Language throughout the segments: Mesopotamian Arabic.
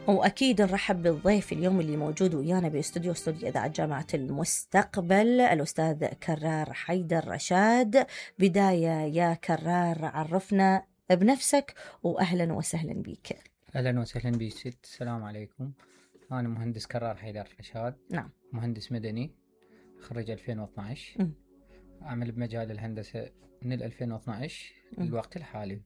وأكيد نرحب بالضيف اليوم اللي موجود ويانا باستوديو إذاعة جامعة المستقبل، الأستاذ كرار حيدر رشاد. بداية يا كرار، عرفنا بنفسك وأهلا وسهلا بك. أهلا وسهلا بك ست. السلام عليكم. أنا مهندس كرار حيدر رشاد. نعم. مهندس مدني، خريج 2012. أعمل بمجال الهندسة من 2012 للوقت الحالي.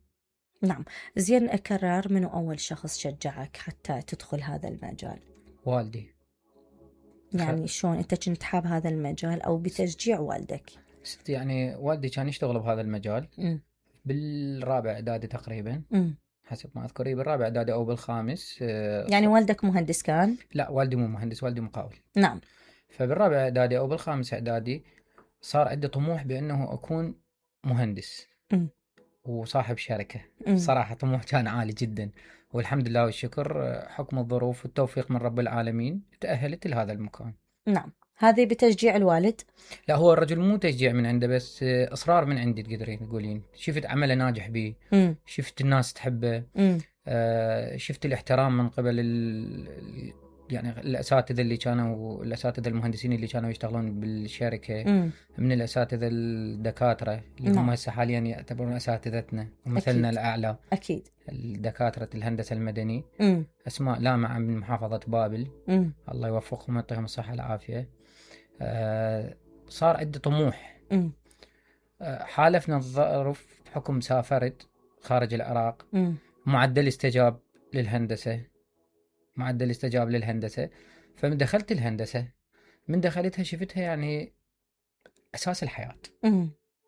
نعم. زين كرار، منو أول شخص شجعك حتى تدخل هذا المجال؟ والدي. يعني شلون أنت كنت حاب هذا المجال أو بتشجيع والدك؟ يعني والدي كان يشتغل بهذا المجال بالرابع إعدادي تقريبا. حسب ما أذكر بالرابع إعدادي أو بالخامس. يعني والدك مهندس كان؟ لا، والدي مو مهندس، والدي مقاول. نعم. فبالرابع إعدادي أو بالخامس إعدادي صار عندي طموح بأنه أكون مهندس وصاحب شركة. صراحة طموح كان عالي جدا، والحمد لله والشكر حكم الظروف والتوفيق من رب العالمين تأهلت لهذا المكان. نعم. هذه بتشجيع الوالد؟ لا، هو الرجل مو تشجيع من عنده، بس إصرار من عندي تقدرين تقولين. شفت عمله ناجح بيه، شفت الناس تحبه، شفت الاحترام من قبل يعني الأساتذة اللي كانوا، الأساتذة المهندسين اللي كانوا يشتغلون بالشركة، من الأساتذة الدكاترة اللي هم هسه حاليا يعتبرون أساتذتنا ومثلنا الأعلى. أكيد. الدكاترة الهندسة المدني، أسماء لامعة من محافظة بابل. الله يوفقهم ويعطيهم الصحة والعافية. صار عندي طموح. حالفنا الظروف بحكم سافرت خارج العراق. معدل استجاب للهندسة. فمن دخلت الهندسة، من دخلتها شفتها يعني أساس الحياة.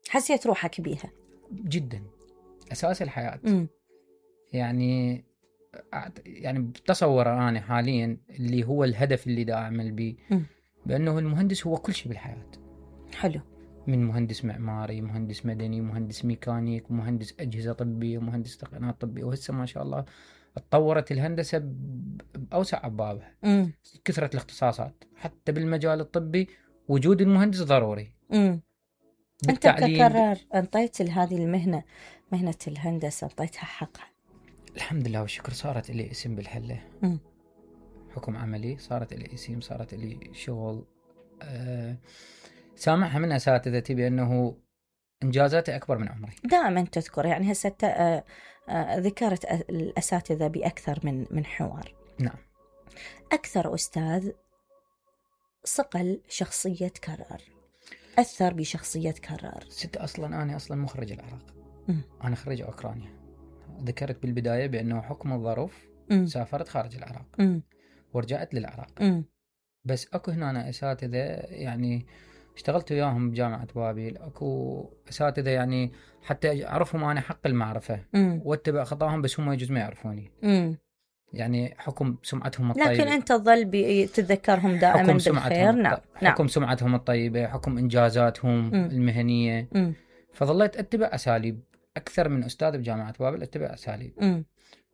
حسيت روحك بيها جدا، أساس الحياة. يعني بتصور أنا حاليا اللي هو الهدف اللي دا أعمل به، بأنه المهندس هو كل شيء بالحياة. حلو. من مهندس معماري، مهندس مدني، مهندس ميكانيك، مهندس أجهزة طبية، مهندس تقنيات طبية. وهسه ما شاء الله اتطورت الهندسة بأوسع أبوابها. كثرة الاختصاصات حتى بالمجال الطبي، وجود المهندس ضروري. أنت ككرار انطيت لهذه المهنة، مهنة الهندسة، انطيتها حقها الحمد لله والشكر. صارت لي اسم بالحلة. حكم عملي صارت لي اسم، صارت لي شغل. سامعها من أساتذتي بأنه إنجازاتي أكبر من عمري. دائما تذكر يعني هسه ذكرت الأساتذة بأكثر من حوار. نعم. أكثر أستاذ صقل شخصية كرار، أثر بشخصية كرار؟ ست، أنا أصلا مخرج العراق. أنا خريج أوكرانيا. ذكرت بالبداية بأنه حكم الظروف سافرت خارج العراق ورجعت للعراق. بس أكو هنا أساتذة يعني اشتغلت وياهم بجامعة بابل. أكو أساتذة يعني حتى أعرفهم أنا حق المعرفة واتبع خطاهم، بس هم يجوز ما يعرفوني. يعني حكم سمعتهم الطيبة، لكن أنت تظل تتذكرهم دائما بالخير. نعم. حكم سمعتهم الطيبة، حكم إنجازاتهم المهنية. فظليت أتبع أساليب أكثر من أستاذ بجامعة بابل، أتبع أساليب.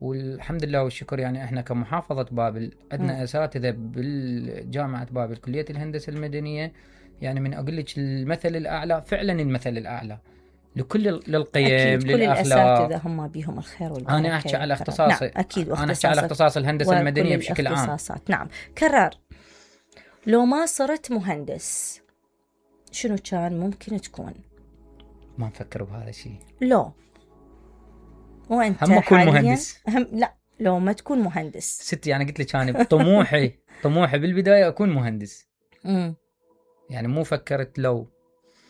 والحمد لله والشكر يعني إحنا كمحافظة بابل عندنا أساتذة بالجامعة بابل كلية الهندسة المدنية، يعني من أقول لك المثل الأعلى، فعلا المثل الأعلى للقيم، أكيد. للأخلاق. كل الأساتذة هم بيهم الخير والبركة. أنا أحكي على اختصاص. نعم. أكيد. أنا أحكي على اختصاص الهندسة المدنية بشكل عام. نعم. كرار، لو ما صرت مهندس شنو كان ممكن تكون؟ ما نفكر بهذا الشيء. لو وأنت هم أكون مهندس. لا، لو ما تكون مهندس ست، يعني قلت لك أنا طموحي بالبداية أكون مهندس. يعني مو فكرت لو